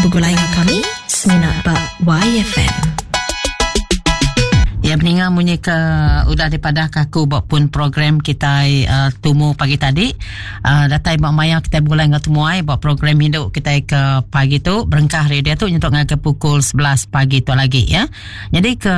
Begulai enggau kami semina ba YFM. Ya peninga munyi ke udah dipadah ke aku ba pun program kitai uh, tumu pagi tadi uh, datai ba maya kitai begulai enggau temuai ba program indu kitai ke pagi tu berengkah hari dia tu nyentuk ngagai pukul 11 pagi tu lagi ya. Nyadi ke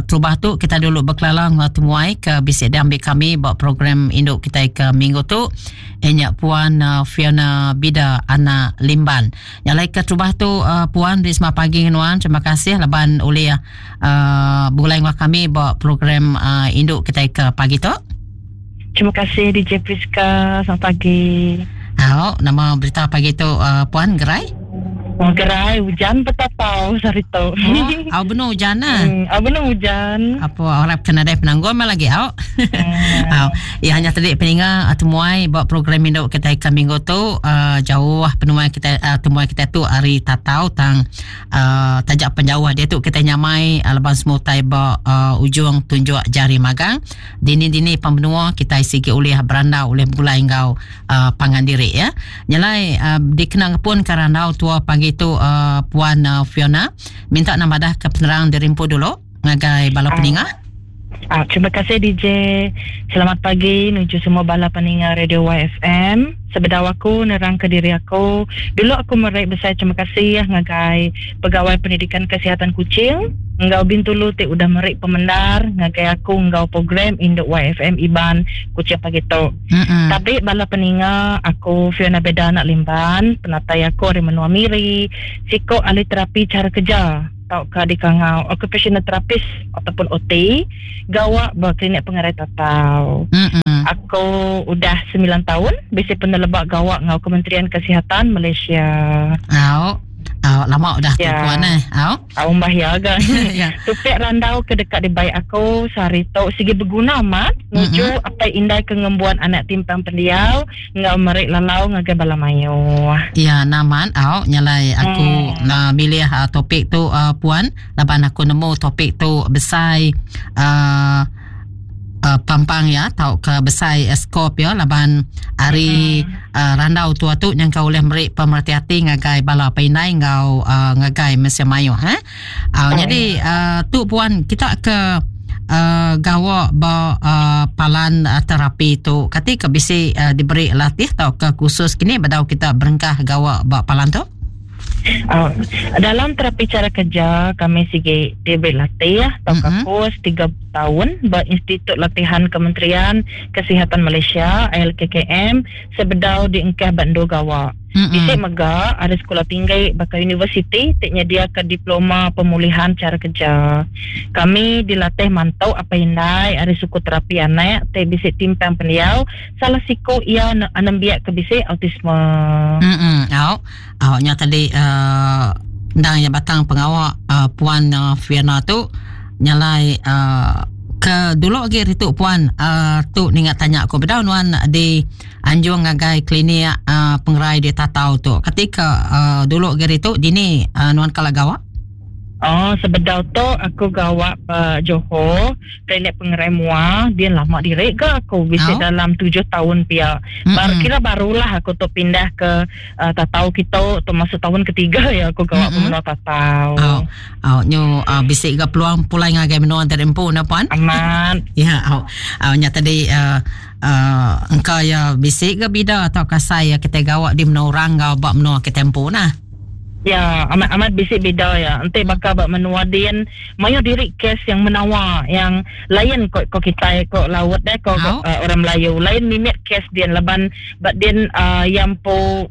terubah tu kita dulu bekelala enggau temuai ke bisi diambi kami ba program indu kitai ke minggu tu iya nya Puan uh, Fiona Bida anak Limban. Nya alai ke terubah tu uh, Puan beri selamat pagi ngan nuan. Terima kasih laban ulih uh, begulai enggau kami ba program uh, indu kitai ke pagi tu. Terima kasih DJ Priska. Selamat pagi. Au, nama berita pagi tu uh, Puan Gerai? Oh, gerai hujan betatau sehari tu. Oh, au benung hujan ah. Au benung hujan. Apa orang kena dai penanggul mah lagi au. Au, ya hanya tadi peninga temuai ba program indu kita ke minggu tu uh, jauh penuai kita uh, temuai kita tu ari Tatau tang uh, taja penjauh dia tu kita nyamai uh, laban semua utai ba uh, ujung tunjuk jari magang. Dini-dini pembenua kita sigi ulih berandau ulih begulai enggau uh, pangan diri ya. Nyelai uh, dikena ngepun ke randau tua pagi tu uh, Puan uh, Fiona minta nama dah ke penerang diri empu dulu ngagai bala peninga. Ah, terima kasih DJ. Selamat pagi nuju semua bala peninga Radio YFM. Sebedau aku nerang ke diri aku, dulu aku meri besai terima kasih ngagai Pegawai Pendidikan Kesihatan Kuching enggau Bintulu ti udah meri pemendar ngagai aku enggau program Indu YFM Iban Kuching pagi tu. Mm-mm. Tabi bala peninga, aku Fiona Beda anak Limban, penatai aku ari menua Miri, siko ahli terapi cara kerja tauka dikangau occupational therapist ataupun OT, gawa ba klinik pengerai Tatau. Mm-mm. Aku udah 9 taun bisi peneleba gawa enggau Kementerian Kesihatan Malaysia. Au. Au, lama udah tu ya. puan eh. Au. Au mbah ya ga. ya. Topik randau ke deka dibai aku sehari tu sigi beguna amat nuju mm-hmm. apai indai ke ngembuan anak timpang pendiau enggau meri lalau ngagai bala mayuh. Ya, naman au nyalai aku mm. uh, milih uh, topik tu uh, puan laban aku nemu topik tu besai uh, uh, pampang ya tauka besai uh, skop ya laban ari uh, randau tua tu nyangka ulih meri pemereti ati ngagai bala pindai enggau uh, ngagai mensia mayuh eh. Uh, oh. Jadi uh, tu puan kita ke uh, gawa ba uh, palan uh, terapi tu kati ke bisi uh, diberi latih tauka khusus kini bedau kita berengkah gawa ba palan tu? Uh, dalam terapi cara kerja kami sigi diberi latih tauka mm-hmm. kurs 3 taun ba Institut Latihan Kementerian Kesihatan Malaysia ILKKM sebedau diengkah ba endur gawa. Mm-hmm. Bisi mega ada sekolah tinggi baka universiti ti nyediaka diploma pemulihan cara kerja. Kami dilatih mantu apai indai ari suku terapi anak ti bisi timpang pendiau salah siku iya nembiak ke bisi autisme. Mm-mm. Au. Au nya tadi uh, endang iya batang pengawa uh, Puan uh, Fiona tu nyalai uh, ke dulu agi ritu puan uh, tu ninga tanya aku bedau nuan di anjung ngagai klinik uh, pengerai di Tatau tu ketika uh, dulu agi ritu dini uh, nuan kala gawa Oh, sebedau tu aku gawa ba Johor, klinik pengerai mua, dia lama diri ga aku bisi oh. dalam tujuh tahun pia. Mm-hmm. Bar kira barulah aku tu pindah ke uh, Tatau kita tu masuk tahun ketiga ya aku gawa mm-hmm. menua Tatau. Oh. Oh, nyu uh, bisi ga peluang pulai ngagai menua dari empu na puan. Amat. Ya, oh. Oh, nya tadi uh, uh, engka ya bisi ga bida atau kasai ya kita gawa di menua orang enggau ba menua kita empu nah. Ya, amat amat bisi bida ya. Enti baka ba menua din, mayuh diri kes yang menawa yang lain ko ko kitai ko laut deh ko uh, orang Melayu. Lain mimit kes din laban ba din uh, yang po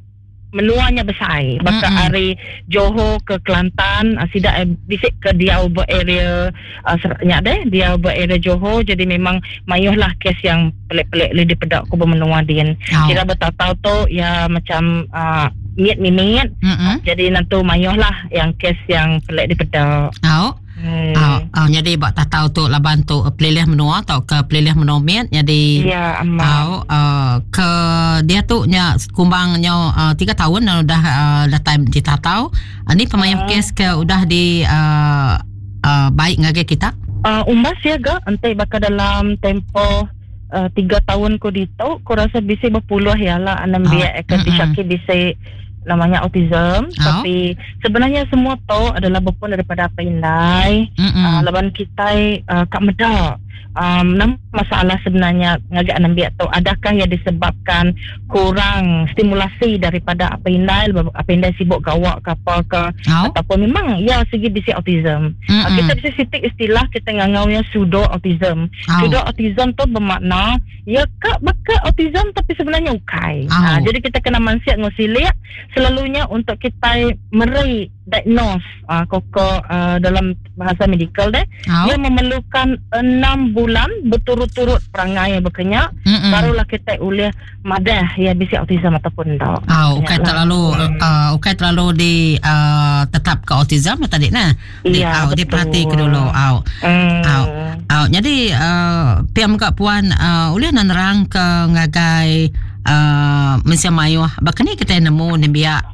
menua nya besai. Baka mm-hmm. ari Johor ke Kelantan, uh, sida eh, bisi ke diau ba area uh, nya deh, diau ba area Johor jadi memang mayuh lah kes yang pelik-pelik li dipeda ku ba menua din. Oh. Kira betatau tu ya macam uh, mit mimit. Mm-hmm. Jadi nentu mayuh lah yang kes yang pelik dipeda. Oh. Hmm. Oh, oh, jadi ba tatau tu laban tu pelilih menua atau ke pelilih menua mit jadi ya amat. Oh, uh, ke dia tu nya kumbang nya uh, 3 tahun dah udah uh, datai di tatau. Uh, ni pemayuh uh. kes ke udah di uh, uh, baik ngagai kita? Uh, umbas ya ga enti baka dalam tempoh uh, tiga tahun ku ditu ku rasa bisi berpuluh ya lah anak biak uh, ke disyaki bisi namanya autism oh. tapi sebenarnya semua tu adalah berpun daripada apa indai mm-hmm. laban kita kak meda um, nama masalah sebenarnya ngagak nembiak tu adakah ia disebabkan kurang stimulasi daripada apa indai apa indai sibuk gawak ke apa ke oh. ataupun memang ya segi bisi autism mm-hmm. kita bisa sitik istilah kita ngangaunya pseudo autism oh. pseudo autism tu bermakna Ya ka baka autism tapi sebenarnya ukai. Oh. Ha, jadi kita kena mansiat ngau silik selalunya untuk kita meri diagnose uh, koko uh, dalam bahasa medical deh. Oh. Ia memerlukan enam bulan berturut-turut perangai yang berkenyak mm-hmm. barulah kita boleh madah ya bisi autism ataupun tak. Oh, ukai terlalu ukai terlalu di tetap ke autism tadi nah. Di ya, au diperhati ke dulu au. Au. Au jadi pia mega puan uh, ulih nerang ke ngagai mensia mayuh baka ni kita nemu nembiak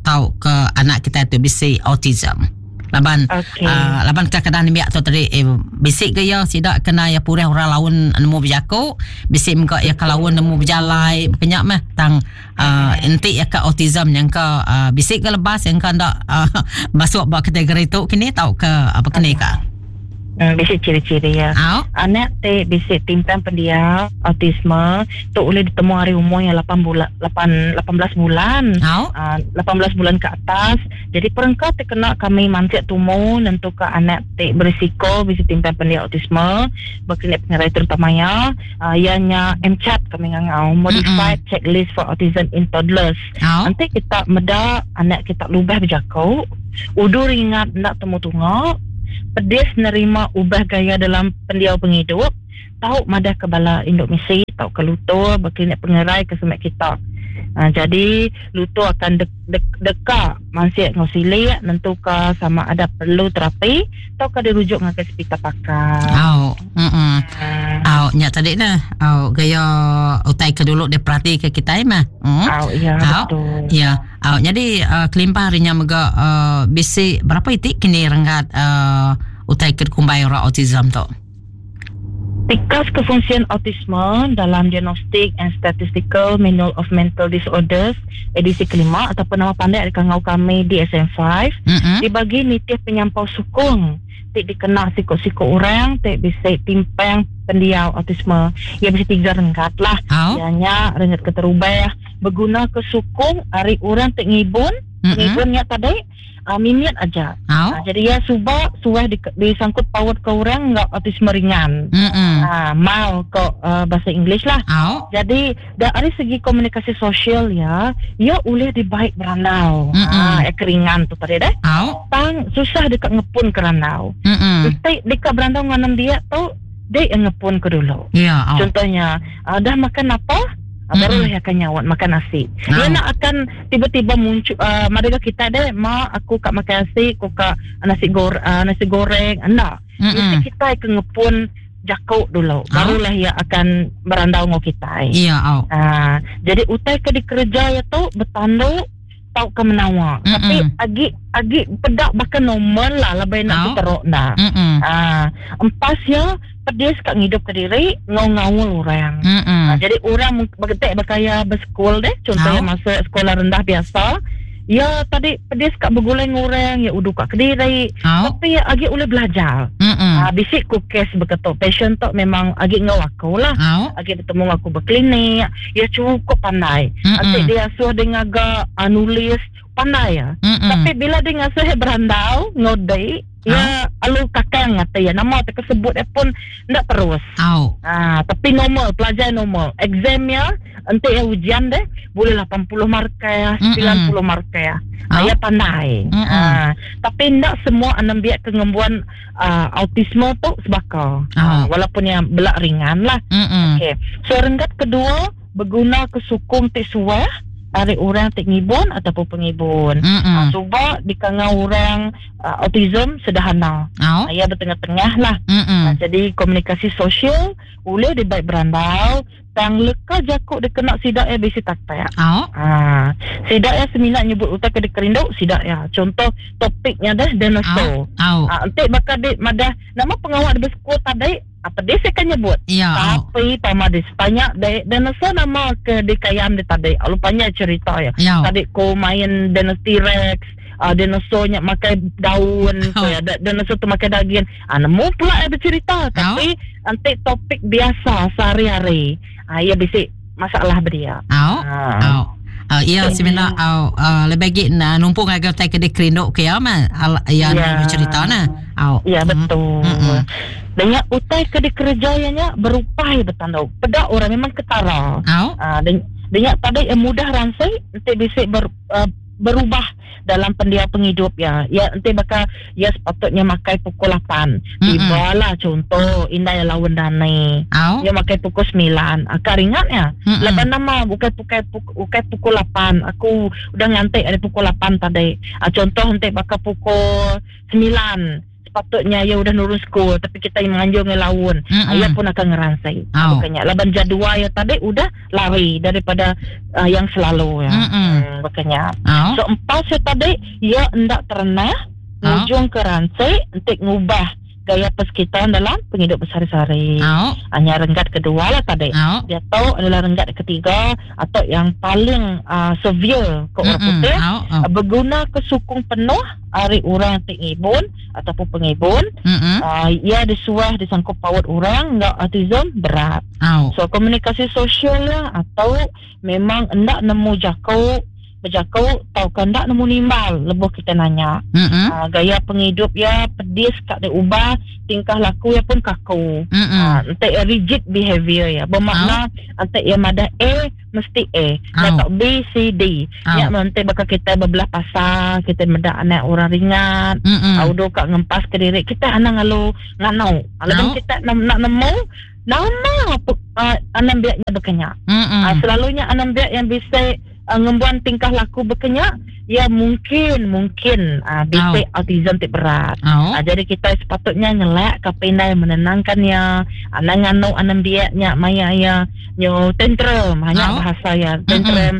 tau ke anak kita tu bisi autism. Laban okay. laban kadang-kadang nembiak tu tadi eh, bisi ke ya sida kena ya purih orang laun nemu bejaku, bisi mega ya kelaun nemu bejalai kenyak meh tang enti iya ka autism nyangka bisi ke lebas nyangka enda masuk ba kategori tu kini tauka apa kini ka? Bisi ciri-ciri iya. Au. Anak ti bisi timpang pendiau autisme tu ulih ditemu ari umur iya lapan bulan lapan 18 bulan. Au. 18 bulan ke atas. Jadi perengka ti kena kami mansik tumu nentuka anak ti berisiko bisi timpang pendiau autisme ba klinik pengerai terutama iya Iya nya MCHAT kami ngangau, Modified mm-hmm. Checklist for Autism in Toddlers. Oh. Nanti kita meda anak kita lubah bejaku, udu ringat enda temu tunga, pedis nerima ubah gaya dalam pendiau pengidup, tau madah ke bala indu misi tau ke lutur ba klinik pengerai ke semak kita. Jadi lutur akan de- de- deka mansik enggau silik nentuka sama ada perlu terapi tauka dirujuk ngagai sepital pakar. Au. Mm. Au nya tadi nah. Au gaya utai ke dulu diperhati ke kitai mah. Au ya Au. betul. Ya. Au jadi kelimpah ari nya mega bisi berapa iti kini renggat utai ke dikumbai orang autism tu? Tikas kefungsian autisme dalam Diagnostic and Statistical Manual of Mental Disorders edisi kelima ataupun nama pandai dikangau kami DSM-5 mm-hmm. dibagi nitih penyampau sukung ti dikena siku-siku orang ti bisi timpang pendiau autisme. Ia bisi tiga renggat lah. Oh. Iya nya renggat keterubah beguna ke sukung ari orang ti ngibun, mm-hmm. ngibun nya tadi mimit aja. Oh. Jadi iya suba suah di, disangkut paut ke orang enggau autisme ringan. Mild ko bahasa English lah. Oh. Jadi dari segi komunikasi sosial ya, iya ulih dibai berandau. Ya keringan tu tadi deh. Oh. Tang susah deka ngepun ke randau. Enti deka berandau enggau nembiak tu, dek ngepun ke dulu. Ya, oh. Contohnya, dah makan apa? Barulah ia akan nyawat makan nasi. Dia nak akan tiba-tiba muncul madega kita deh, ma aku kak makan nasi, aku kak nasi gor nasi goreng, enda. Mesti kita ke ngepun jakuk dulu. Barulah ia akan berandau ngau kita. Ya, oh. Jadi utai ke dikerja ya tu bertanduk tau ke menawa. Tapi agi agi pedak bahkan normal lah lebih nak Oh. teruk dah. Empas ya pedis kat ngidup ke diri ngau ngaul orang. Jadi orang bergetek berkaya bersekul deh, contohnya Oh. masuk sekolah rendah biasa. Ya tadi pedis kat bergulai ngoreng, ya udu kat kediri. Oh. Tapi ya agi boleh belajar. Bisik ku kes berketuk passion tu memang agi ngau aku lah. Oh. Agi bertemu aku berklinik, ya cukup pandai. Nanti dia suruh dia ngagak nulis pandai ya. Tapi bila dia ngasuh dia berandau, ngodai, ya alu kakang ngata ya nama tak sebut dia pun ndak terus. Oh. Tapi normal, pelajar normal. Examnya ente ya ujian deh boleh 80 markah, 90 markah. Ya pandai. Tapi ndak semua anak biak kengembuan autisme tu sebaka. Walaupun yang belak ringan lah. Okey. So renggat kedua berguna kesukung ti suah dari orang ti ngibun ataupun pengibun. Cuba dikangau orang autism sederhana. Ya bertengah-tengah lah. Jadi komunikasi sosial boleh dibaik berandau tang leka jakuk dia kena sidak ya bisi taktak. Sidak ya seminat nyebut utak ke dikerinduk sidak ya. Contoh topiknya dah dinosaur. Entik bakal dik madah nama pengawal di bersekul tadi Apa dia saya kan nyebut. Ya. Tapi pama di tanya de dinosaur nama ke dikayam di tadi. Lalu panjai cerita ya. Tadi ko main dinosaur T-Rex, dinosaurnya makai daun, ko ya. Dinosaur tu makai daging. Nemu pula ya bercerita. Tapi nanti topik biasa sehari-hari. Ya bisi masalah beria. Iya semina lebih agi numpung ngagai utai ke dikerindu ke iya mah iya bercerita nah. Ya betul. Dengan utai ke dikereja iya nya berupai betandau. Peda orang memang ketara. Dengan tadi mudah ransi enti bisi berubah dalam pendiau pengidup ya. Ya enti baka ya sepatutnya makai pukul 8. Tiba lah contoh indai laun dani. Ya makai pukul 9. Akak ringat ya. Laban nama bukai bukai bukai pukul 8. Aku udah nganti ari pukul 8 tadi. Contoh enti baka pukul 9. Sepatutnya ia udah nurun school tapi kita yang menganjur dengan laun. Ia pun akan ngeransai. Bukannya laban jadual ia tadi udah lari daripada yang selalu ya. Bukannya. So empat saya tadi ia hendak terenah ngujung ke ransai untuk ngubah gaya persekitaran dalam penghidup besar-besari. Hanya renggat kedua lah tadi. Dia tahu adalah renggat ketiga atau yang paling severe ke orang putih. Berguna kesukung penuh hari orang tingibun ataupun pengibun. Ia disuah disangkut paut orang enggak autism berat. So komunikasi sosial lah atau memang endak nemu jako berjakau tau ke endak nemu nimbal lebuh kita nanya. Gaya penghidup ya pedis kak dia ubah, tingkah laku ya pun kaku. Ente ya rigid behavior ya. Bermakna ente ya madah A mesti A. Atau B C D. Ya nanti bakal kita berbelah pasar, kita medak anak orang ringan, audo kak ngempas ke diri kita anak ngalu ngano. Lalu kita nak nemu nama anak biaknya berkenyak. Selalunya anak biak yang bisa ngembuan tingkah laku berkenyak ya mungkin bisa autism tik berat. Jadi kita sepatutnya ngelak ke pandai menenangkannya, anak nganu anak biaknya maya ya nyo tantrum hanya bahasa ya tantrum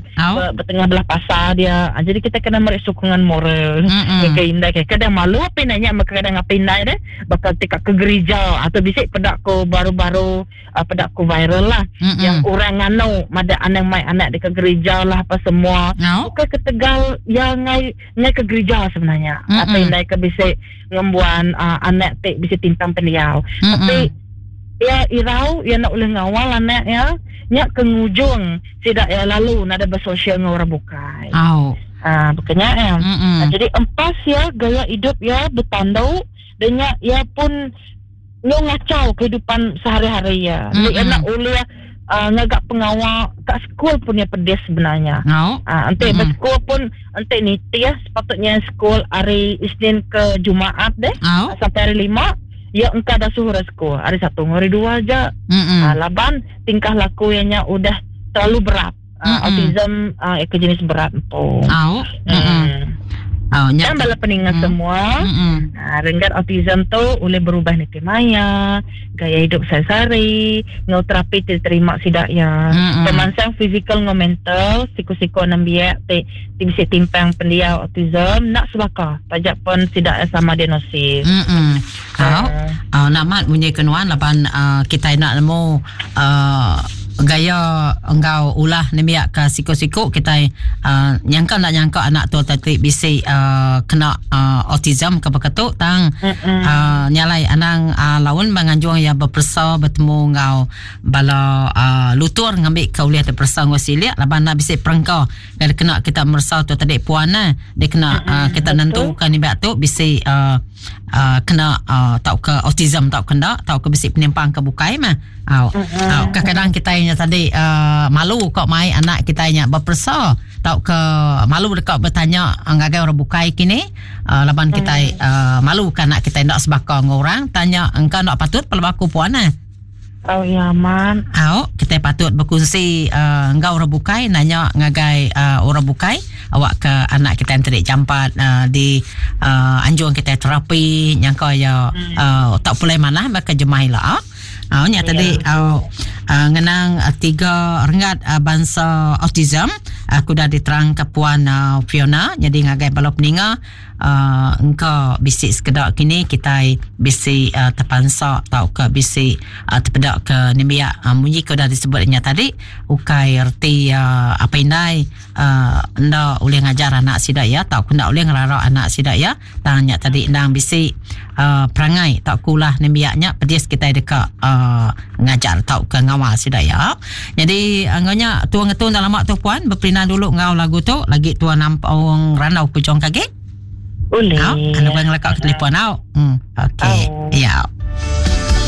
bertengah belah pasar dia. Jadi kita kena meri sokongan moral. Ke indai ke kadang malu apa nanya maka kadang apa indai deh bakal tikak ke gereja atau bisik pedakku baru-baru pedakku viral lah yang orang nganu mada anak mai anak dekat gereja lah apa semua. Bukan ketegal yang ngai ke gereja sebenarnya. Atau indai ke bisik ngembuan anak tik bisik timpang pendiau. Tapi ya irau ya nak boleh ngawal anak ya nyak ke ngujung sidak ya lalu nada bersosial dengan orang bukai. Bukannya ya. Jadi empas ya gaya hidup ya bertanduk dengan ya pun nyo ngacau kehidupan sehari-hari ya. Dia nak oleh ngagak pengawal kat school pun ya pedis sebenarnya. Nanti bersekolah pun nanti niti ya sepatutnya school hari Isnin ke Jumaat deh sampai hari 5 ya engkau dah suruh sekolah hari 1 hari 2 aja. Laban tingkah laku nya udah terlalu berat. Autism ke jenis berat empo. Dan bala peningat semua, renggat autism tu boleh berubah niti maya, gaya hidup sehari-hari, ngau terapi diterima sidak ya. Pemansang fizikal ngau mental, siku-siku nembiak ti bisa timpang pendiau autism nak sebaka, pajak pun sidak sama diagnosis. Namat bunyi kenuan laban kita nak nemu gaya engkau ulah nembiak ke siku-siku kita nyangka nak nyangka anak tu tadi bisi kena autism ke beketuk tang nyalai anang laun menganjung ya berpersa bertemu ngau bala lutur ngambil ke uliah terpersa ngau silik laban nak bisi perengka kena kita mersa tu tadi puan dia kena kita nentukan nembiak tu bisi kena tau ke autism tau kena tau ke bisi penimpang ke bukai mah. Kadang-kadang kita nya tadi malu kok mai anak kita nya berpersa tau ke malu dekat bertanya ngagai orang bukai kini laban kita malu kan anak kita nak sebaka dengan orang tanya engkau nak patut pelbaku aku puan Oh ya man. Kita patut berkongsi engkau orang bukai nanya ngagai orang bukai awak ke anak kita yang tadi jampat di anjung kita terapi nyangka ya tak boleh mana maka jemahilah. Au nya tadi au uh, ngenang uh, tiga renggat uh, bansa autism aku dah diterang ke puan uh, Fiona jadi ngagai bala peninga uh, engka bisi sekeda kini kitai bisi uh, terpansa tauka bisi uh, tepeda ke nembiak uh, munyi ke udah disebut nya tadi ukai reti uh, apa indai uh, enda ulih ngajar anak sida ya tauka enda ulih ngerara anak sida ya Tang nya tadi endang bisi uh, perangai tauka ulah nembiak nya pedis kitai deka uh, ngajar tauka ngawal sida ya. Jadi enggau nya tua ngetu enda lama tu puan beperindang dulu enggau lagu tu lagi tua nampung randau pujung kagi. Boleh. Au, anu bang ngelakak ke telefon au. Hmm, okey. Ya.